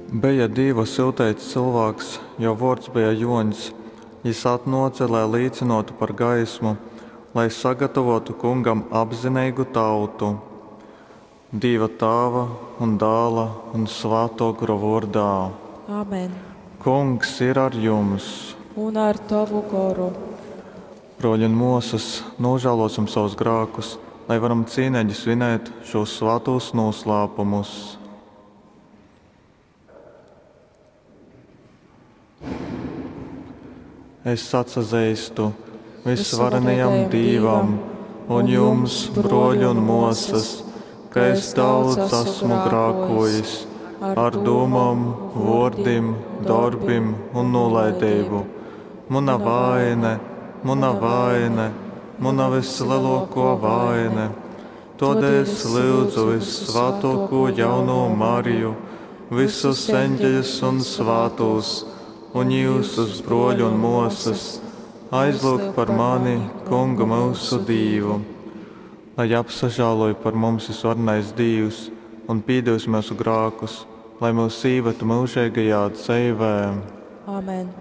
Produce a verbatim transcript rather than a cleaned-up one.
Beja Dīva syuteits cylvāks, jō vōrds beja Jōņs. Jys atnōce, lai līcynōtu par gaismu, lai sagatavōtu Kungam apzineigu tautu. Dīva Tāva un Dāla, un Svātō Gora vōrdā. Amen. Kungs ir ar jums! Un ar tovu goru. Brōļi un mōsas, nūžālōsim sovus grākus, lai varam cīneigi svinēt šūs svātūs nūslāpumus. Es atsazeistu Vysvarenajam Dīvam un jums, brōļi un mōsas, ka es daudz esmu grākōjis ar dūmom, vōrdim, dorbim un nūlaideibu. Muna vaine, muna vaine, muna vyslelōkō vaine. Tōdēļ es lyudzu vyssvātōkū jaunū Mariju, visus eņģeļus un svātūs, un jyusus, brōļi un mōsas, aizlyugt par mani Kungu myusu Dīvu. Lai apsažāloj par mums Vysvarenais Dīvs un pīdevis myusu grākus, lai myus īved myužeigajā dzeivē. Amen.